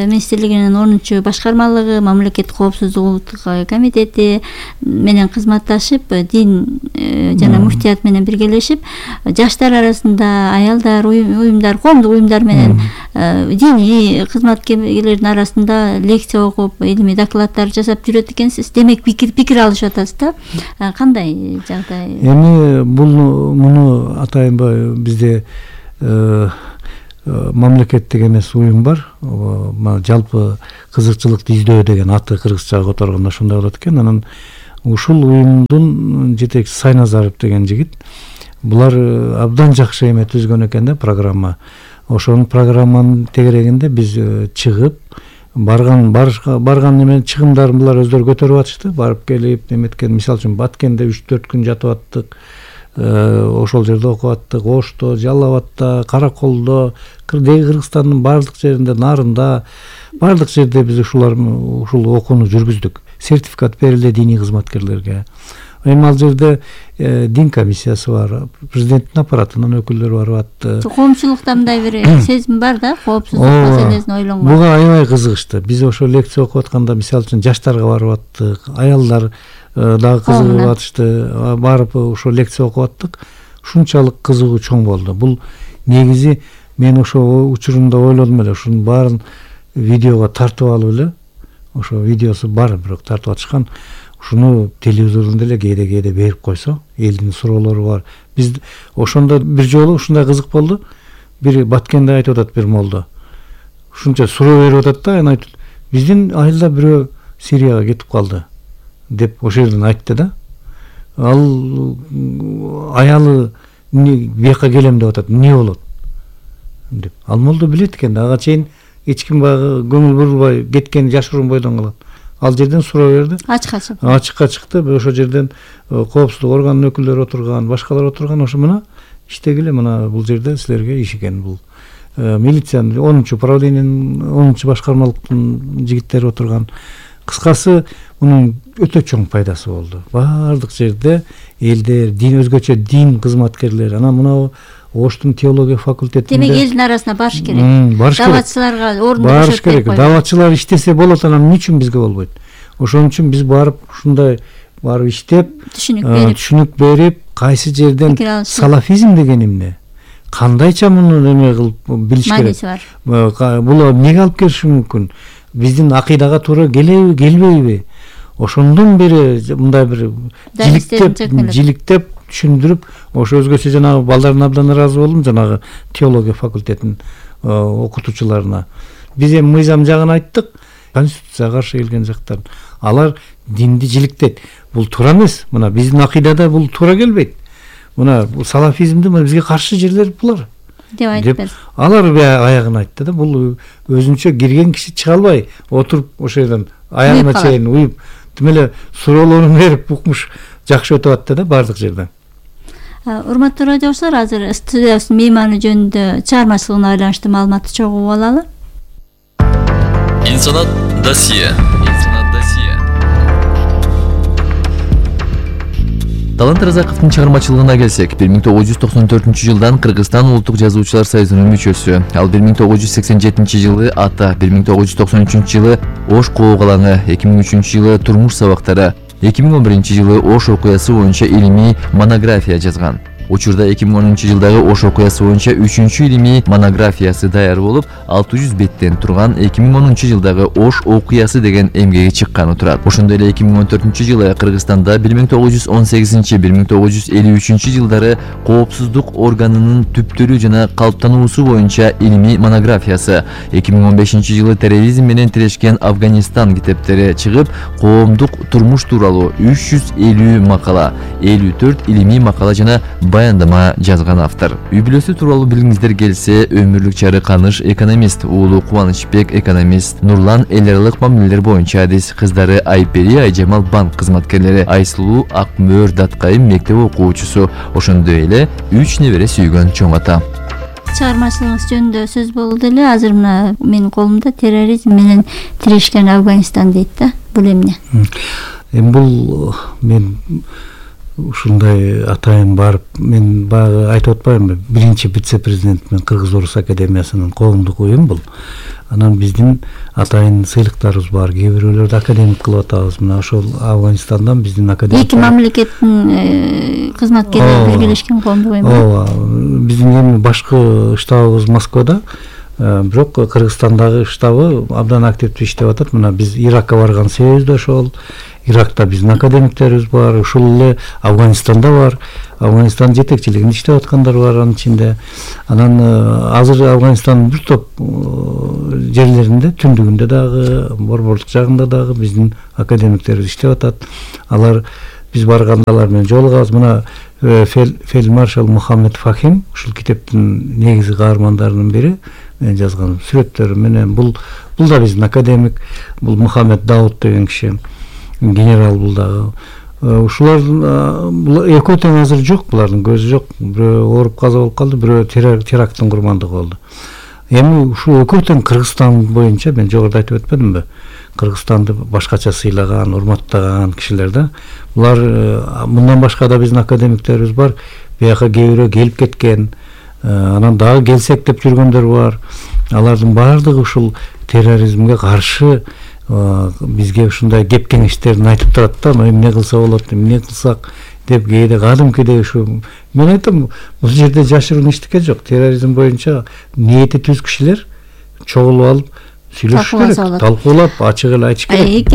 министрлигинин 10 башкармалыгы, мамлекет коопсуздук улуттук комитети менен кызматташып, дин жана муфтият менен биргелешип, жаштар арасында, аялдар, уюмдар, коомдук уюмдар менен диний кызматкерлердин арасында лекция окуп, илимий докладдар жасап жүрөт экенсиз. Демек пикир алышып атасыз да. Кандай жагдай? Эми муну атайынбай бизде мамлекеттик эмес уюм бар. Жалпы кызыкчылыкты издөө деген аты кыргызчага которгондо ошондой болот экен. Анан ушул уюмдун жетекчиси Сайназаров деген жигит, булар абдан жакшы эме түзгөн экен да, программа. Ошонун программанын тегерегинде биз чыгып барган эме чыгымдарын булар өздөрү көтөрүп атышты. Барып келип эметкен, мисалы үчүн Баткенде 3-4 күн жатып аттык. Ошол жерде окуп аттык. Ошто, Жалал Абадта, Караколдо, Кыргызстандын баардык жеринде, Нарында, баардык жерде биз ушул окууну жүргүздүк. Сертификат берилди диний кызматкерлерге. Эми ал жерде дин комиссиясы бар, президенттин аппаратынын өкүлдөрү барып атты. Коомчулукта мындай бир сезим бар да, коопсуздук маселесин ойлонгон. Буга аябай кызыгышты. Биз ошо лекция окуп атканда, мисалы үчүн жаштарга барып аттык, аялдар дагы кызыгып атышты. Барып ошо лекция окуп аттык. Ушунчалык кызыгуу чоң болду. Бул негизи мен ошо учурунда ойлодум эле, ушунун баарын видеого тартып алып эле, ошо видеосу бар, бирок тартып атышкан. Ушуну телевизордон деле кээде берип койсо, элдин суроолору бар. Биз ошондо бир жолу ушундай кызык болду. Бир Баткенде айтып атат бир молдо. Ушунча суроо берип атат да, анан айтат: "Биздин айылда бирөө Сирияга кетип калды" деп ошол жерден айтты да. Ал аялы бияка келем деп атат, эмне болот деп. Ал молдо билет экен да, ага чейин эч ким багы көңүл бурулбай кеткен, жашыруун бойдон калат. Ал жерден суроо берди. Ачыкка чыкты. Ошол жерден коопсуздук органынын өкүлдөрү отурган, башкалар отурган. Ошо мына иштегиле, мына бул жерде силерге иш экен. Бул милициянын 10-чу управлениянын 10-чу башкармалыктын жигиттери отурган. Кыскасы, мунун өтө чоң пайдасы болду. Баардык жерде элдер, дин өзгөчө дин кызматкерлери, анан мына Оштун теология факультетинде. Демек элдин арасына барыш керек. Даватчыларга орунду барыш керек. Даватчылар иштесе болот, анан эмне үчүн бизге болбойт? Ошон үчүн биз барып ушундай барып иштеп, түшүнүк берип, кайсы жерден салафизм деген эмне? Кандайча муну эме кылып билиш керек. Бул эмнеге алып келиши мүмкүн? Биздин акыйдага туура келеби, келбейби? Ошондон бери мындай бир жиликтеп түшүндүрүп, ошо өзгөчө жанагы балдардын абдан ыраазы болдум, жанагы теология факультетинин окутуучуларына. Биз эми мыйзам жагын айттык, конституцияга каршы келген жактарын. Алар динди жиликтейт. Бул туура эмес. Мына биздин акыйдада бул туура келбейт. Мына бул салафизмди бизге каршы жерлер булар деп айтып берди. Алар аягын айтты да, бул өзүнчө кирген киши чыга албай отуруп ошол жерден аягына чейин уюп, демеле суроолорун берип укмуш жакшы өтүп атты да баардык жерден. Урматтуу радиочулар, азыр студиябыздын мейманы жөнүндө чыгармачылыгына байланыштуу маалыматты чогуу алалы. Инсанат досье. Талант Разаковдун чыгармачылыгына келсек, 1994 жылдан Кыргызстан Улуттук жазуучулар союзунун мүчөсү. Ал 1987 жылы Ата, 1993 жылы Ош коогалаңы, 2003 жылы Турмуш сабактары, 2011 жылы Ош окуясы боюнча илимий монография жазган. Учурда 2010 жылдагы Ош окуясы боюнча 3-чү илимий монографиясы даяр болуп, 600 беттен турган 2010 жылдагы Ош окуясы деген эмгеги чыкканы турат. Ошондой эле 2014 жылы Кыргызстанда 1918-1953 жылдары коопсуздук органынын түптөрү жана калыптануусу боюнча илимий монографиясы, 2015 жылы терроризм менен тирешкен Афганистан китептери чыгып, коомдук турмуш тууралуу 350 макала, 54 илимий макала жана баяндама жазган автор. Үй бүлөсү тууралуу билгиңиздер келсе, өмүрлүк чары Каныш экономист, уулу Кубанычбек экономист, Нурлан эл аралык мамилелер боюнча адис, кыздары Айпери Айжамал банк кызматкерлери, Айсулуу Акмөөр Даткайым мектеп окуучусу, ошондой эле 3 небере сүйгөн чоң ата. Чыгармачылыгыңыз жөнүндө сөз болду эле, азыр мына менин колумда терроризм менен тирешкен Афганистан дейт да. Бул эмне? Бул мен ушундай атайын барып, мен баягы айтып атпаймынбы, биринчи вице-президент мен Кыргыз-Орус академиясынын коомдук уюм бул. Анан биздин атайын сыйлыктарыбыз бар, кээ бирөөлөрдү академик кылып атабыз. Мына ошол Афганистандан биздин академик. Эки мамлекеттин кызматкерлери биргелешкен коомдук уюм. Ооба, биздин эми башкы штабыбыз Москвада, Бирок Кыргызстандагы штабы абдан активдүү иштеп атат. Мына биз Иракка барган себебибиз да ошол. Иракта биздин академиктерибиз бар, ушул эле Афганистанда бар. Афганистан жетекчилигинде иштеп аткандар бар анын ичинде. Анан азыр Афганистандын бир топ жерлеринде, түндүгүндө дагы, борбордук жагында дагы биздин академиктерибиз иштеп атат. Алар биз барганда алар менен жолугабыз. Мына фельдмаршал Мухаммед Фахим ушул китептин негизги каармандарынын бири, мен жазган сүрөттөрү менен. Бул да биздин академик, бул Мухаммед Дауд деген киши, генерал бул дагы. Ушулар экөө тең азыр жок, булардын көзү жок. Бирөө ооруп каза болуп калды, бирөө теракттын курмандыгы болду. Эми ушул экөө тең Кыргызстан боюнча мен жогоруда айтып өтпөдүмбү? Кыргызстанды башкача сыйлаган, урматтаган кишилер да. Булар мындан башка да биздин академиктерибиз бар. Бияка кээ бирөө келип кеткен, анан дагы келсек деп жүргөндөр бар. Алардын баардыгы ушул терроризмге каршы бизге ушундай кеп кеңештерин айтып турат да. Эмне кылса болот, эмне кылсак деп кээде кадимкидей ушу. Мен айтам, бул жерде жашыруун эчтеке жок. Терроризм боюнча ниети түз кишилер чогулуп алып сүйлөшүш керек, талкуулап, ачык эле айтыш керек.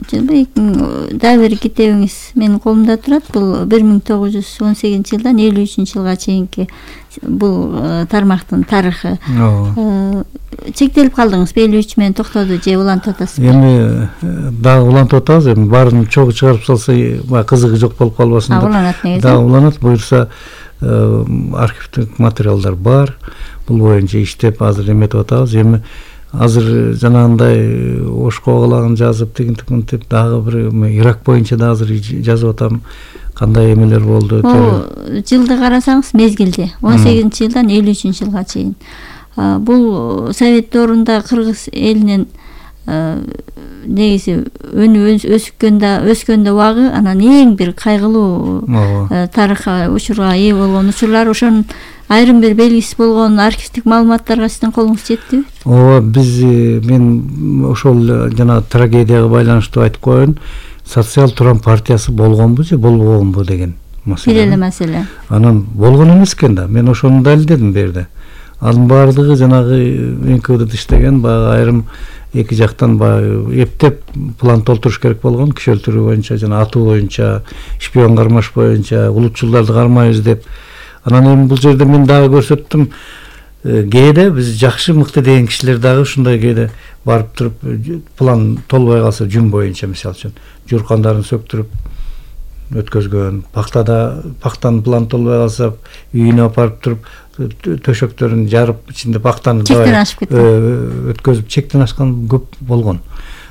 2014 дагы бир китебиңиз менин колумда турат. Бул 1918-жылдан 53-жылга чейинки бул тармактын тарыхы. Чектелип калдыңыз, 53 менен токтоду же улантып атасызбы? Эми дагы улантып атабыз. Эми баарын чогуу чыгарып салса, кызыгы жок болуп калбасын деп. Уланат негизи. Да, уланат. Буюрса архивдик материалдар бар. Бул боюнча иштеп азыр эметип атабыз. Эми азыр жанагындай ошко калагын жазып, тигинтип дагы бир Ирак боюнча да азыр жазып атам. Кандай эмелер болду? Жылды карасаңыз, мезгилди 18-жылдан 53-жылга чейин. Бул Совет доорунда Кыргыз элинин негизи өскөндө убагы, анан эң бир кайгылуу тарыхка учурга ээ болгон учурлар, ошонун айрым бир белгисиз болгон архивдик маалыматтарга сиздин колуңуз жеттиби? Ооба, мен ошол жана трагедияга байланыштуу айтып коеюн. Социал Турам партиясы болгонбу же болбогонбу деген маселе. Бир эле маселе. Анан болгон эмес экен да. Мен ошону далилдедим бу жерде. Анын баардыгы жанагы НКВД иштеген баягы айрым эки жактан баягы эптеп план толтуруш керек болгон, киши өлтүрүү боюнча жана атуу боюнча, шпион кармаш боюнча, улутчулдарды кармайбыз деп. Анан эми бул жерде мен дагы көрсөттүм. Кээде биз жакшы, мыкты деген кишилер дагы ушундай кээде барып туруп план толбой калса жүн боюнча, мисалы үчүн журкандарын сөктүрүп өткөзгөн, пактанын план толбой калса үйүнө апарып туруп төшөктөрүн жарып, ичинде пактаны өткөзүп чектен ашкан көп болгон.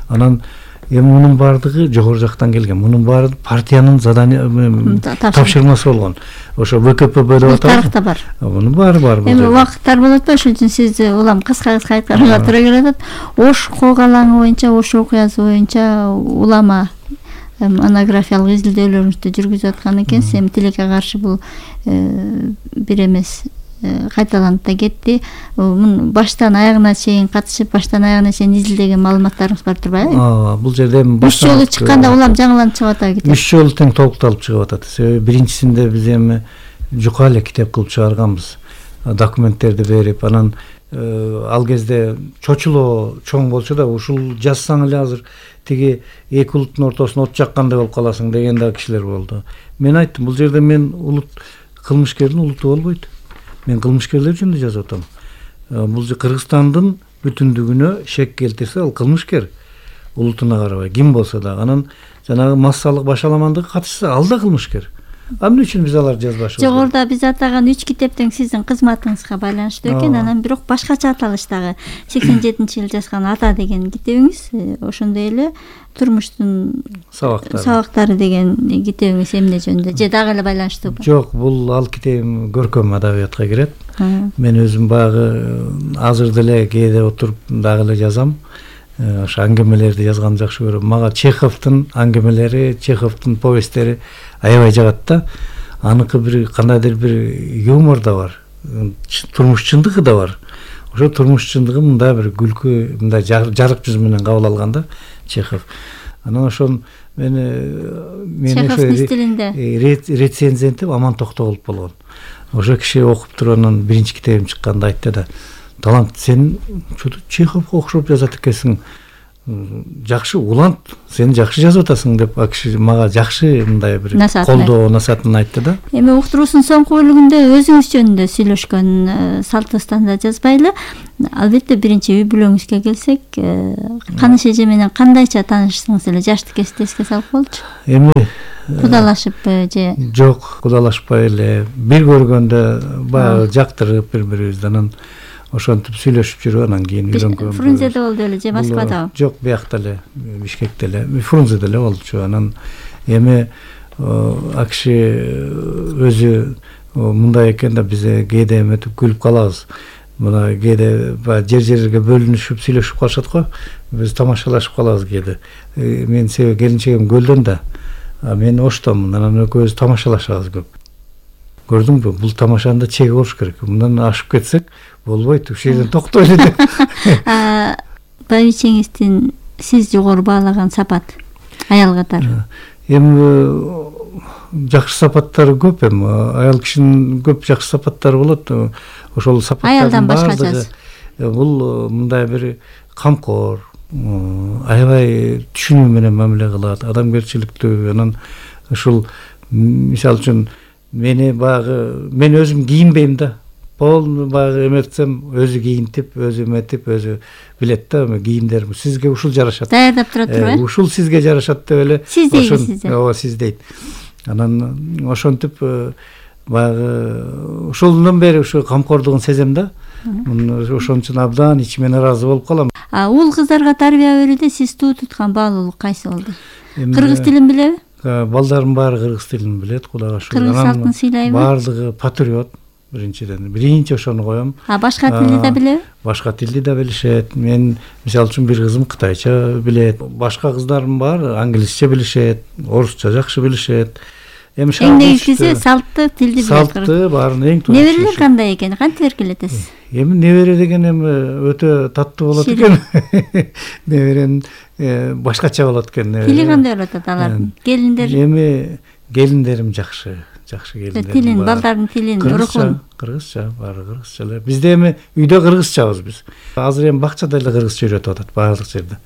Анан эми мунун баардыгы жогору жактан келген. Мунун баары партиянын тапшырмасы болгон. Ошо ВКПБ деп атабыз. Тарыхта бар. Мунун баары бар. Эми убакыттар болот да, ошон үчүн сизди улам кыска айтканга туура келет. Ош коогалаңы боюнча, Ош окуясы боюнча улама монографиялык изилдөөлөрүңүздү жүргүзүп аткан экенсиз. Эми тилекке каршы бул бир эмес кайталанып да кетти. Баштан аягына чейин катышып, баштан аягына чейин изилдеген маалыматтарыңыз бар турбайбы? Бул жерде эми 3 жолу чыкканда улам жаңыланып чыгып атат кетет. 3 жолу тең толукталып чыгып атат. Себеби биринчисинде биз эми жука эле китеп кылып чыгарганбыз. Документтерди берип, анан ал кезде чочулоо чоң болчу да, ушул жазсаң эле азыр тиги эки улуттун ортосуна от жаккандай болуп каласың деген да кишилер болду. Мен айттым, бул жерде мен кылмышкердин улуту болбойт. Мен кылмышкерлер жөнүндө жазып атам. Бул Кыргызстандын бүтүндүгүнө шек келтирсе, ал кылмышкер. Улутуна карабай, ким болсо да. Анан жанагы массалык башаламандыкка катышса, ал да кылмышкер. Эмне үчүн биз аларды жазбашыбыз? Жогоруда биз атаган 3 китептен сиздин кызматыңызга байланыштуу экен, анан бирок башкача аталыштагы 87-жылы жазган Ата деген китебиңиз, ошондой эле Турмуштун сабактары деген китебиңиз эмне жөнүндө? Же дагы эле байланыштуубу? Жок, бул ал китебим көркөм адабиятка кирет. Мен өзүм багы азыр деле кээде отуруп дагы эле жазам. Ошо аңгемелерди жазганды жакшы көрөм. Мага Чеховдун аңгемелери, Чеховдун повесттери аябай жагат да. Аныкы бир кандайдыр бир юмор да бар, турмуш чындыгы да бар. Ошо турмуш чындыгы мындай бир күлкү, мындай жарык жүз менен кабыл алганда Чехов. Анан ошон мен Чеховдун стилинде рецензентип Аман Токтогулов болгон. ошо киши окуп туруп анан биринчи китебим чыкканда айтты да, талант, сен Чеховго окшоп жазат экенсиң, жакшы улант, сен жакшы жазып атасың деп ал киши мага жакшы мындай бир колдоо насаатын айтты да. Эми уктуруусунун соңку бөлүгүндө өзүңүз жөнүндө сүйлөшкөн салт станда жазбайлы. Албетте биринчи үй бүлөңүзгө келсек, Каныш эже менен кандайча таанышсыңыз эле, жашты эске салып болчу. Эми кудалашыппы же? Жок, кудалашпай эле бир көргөндө баягы жактырып бири-бирибизди, анан ошентип сүйлөшүп жүрүп анан кийин үйрөнгөн. Фрунзеде болду эле же Москвадабы? Жок, биякта эле, Бишкекте эле, Фрунзеде эле болчу. Анан эми акши өзү мындай экен да, биз кээде эметип күлүп калабыз. Мына кээде жер-жерге бөлүнүшүп сүйлөшүп калышат го, биз тамашалашып калабыз кээде. Мен себеби келинчегим Көлдөн да, мен Оштомун, анан экөөбүз тамашалашабыз көп. Көрдүңбү, бул тамашанын да чеги болуш керек. Мындан ашып кетсек болбойт, ушул жерден токтойлу деп. Байбичеңиздин сиз жогору баалаган сапат аял катары? Эми жакшы сапаттары көп, эми аял кишинин көп жакшы сапаттары болот. Ошол сапаттардын баардыгы бул мындай бир камкор, аябай түшүнүү менен мамиле кылат, адамгерчиликтүү. Анан ушул мисалы үчүн мен өзүм кийинбейм да. Полный баягы эметсем өзү кийинтип, өзү эметип, өзү билет да, кийимдер сизге ушул жарашат. Даярдап тура турбайбы? Ушул сизге жарашат деп эле. Сиз дейсиз. Ооба, сиз дейт. Анан ошентип баягы ошолдон бери ушу камкордугун сезем да. Ошон үчүн абдан ичимен ыраазы болуп калам. Уул кыздарга тарбия берүүдө сиз туу туткан баалуулук кайсы болду? Кыргыз тилин билеби? Балдардын баары кыргыз тилин билет, Кудайга шүгүр. Кыргыз салтын сыйлайбы? Баардыгы патриот. Биринчи ошону коем. Башка тилди да билеби? Башка тилди да билишет. Мен мисалы үчүн бир кызым кытайча билет. Башка кыздардын баары англисче билишет, орусча жакшы билишет. Эми эң негизгиси салтты тилди билет. Салтты баарын эң туура. Неберелер кандай экен? Кантип эркелетесиз? Эми небере деген эми өтө таттуу болот экен. Неберен башкача болот экен. Тили кандай болот алардын? Келиндер? Эми келиндерим жакшы келиндер. Тилин, балдардын тилин, рухун. Кыргызча, баары кыргызча эле. Бизде эми үйдө кыргызчабыз биз. Азыр эми бакчада эле кыргызча үйрөтүп атат баардык жерде.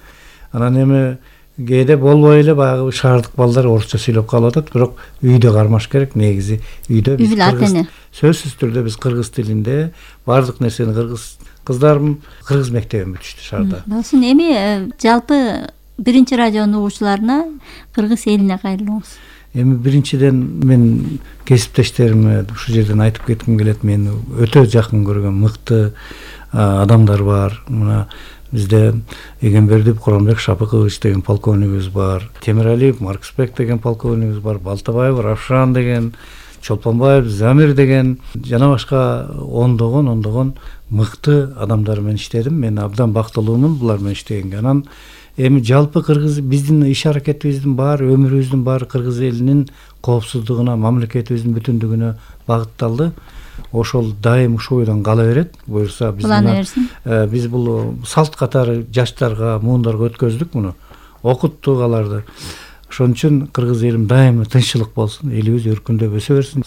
Анан эми кээде болбой эле баягы шаардык балдар орусча сүйлөп калып атат, бирок үйдө кармаш керек. Негизи үйдө биз сөзсүз түрдө биз кыргыз тилинде баардык нерсени кыздарым кыргыз мектебин бүтүштү шаарда. Болсун, эми жалпы биринчи радионун угуучуларына кыргыз элине кайрылыңыз. Эми биринчиден мен кесиптештериме ушул жерден айтып кетким келет. Мен өтө жакын көргөн мыкты адамдар бар. Мына бизде Эгембердиев Куранбек Шапыкович деген полковнигибиз бар, Темиралиев Марксбек деген полковнигибиз бар, Балтабаев Равшан деген, Чолпонбаев Замир деген, жана башка ондогон мыкты адамдар менен иштедим. Мен абдан бактылуумун булар менен иштегенге. Анан эми жалпы кыргыз биздин иш аракетибиздин баары, өмүрүбүздүн баары кыргыз элинин коопсуздугуна, мамлекетибиздин бүтүндүгүнө багытталды. Ошол дайым ушул бойдон кала берет. Буюрса биз бул салт катары жаштарга, муундарга өткөздүк муну. Окуттук аларды. Ошон үчүн кыргыз элим дайым тынччылык болсун, элибиз өркүндөп өсө берсин.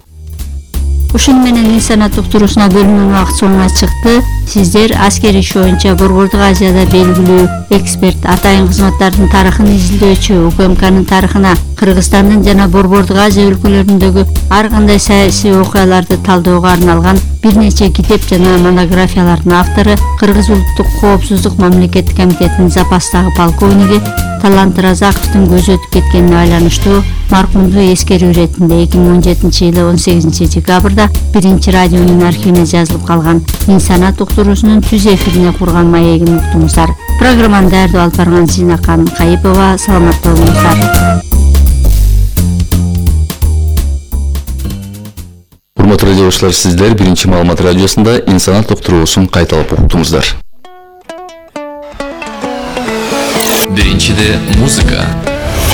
Ушун менен инсанат уктуруусуна бөлүнгөн убакыт соңуна чыкты. Сиздер аскер иш боюнча Борбордук Азияда белгилүү эксперт, атайын кызматтардын тарыхын изилдөөчү, УКМКнын тарыхына, Кыргызстандын жана Борбордук Азия өлкөлөрүндөгү ар кандай саясий окуяларды талдөөгө арналган бир нече китеп жана монографиялардын автору, Кыргыз Улуттук коопсуздук мамлекеттик комитетинин запастагы полковниги Талант Разаковдун көзү өтүп кеткенине байланыштуу маркумду эскерүү иретинде 2017-жылы 18 декабрда биринчи радионун архивине жазылып калган инсанат уктуруусунун түз эфирине курган маегин уктуңуздар. Программаны даярдап алып барган Зинакан Кайыпова. Саламат болуңуздар. Урматтуу радиошуулар, сиздер биринчи маалымат радиосунда инсанат уктуруусун кайталап уктуңуздар. Биринчиде музыка.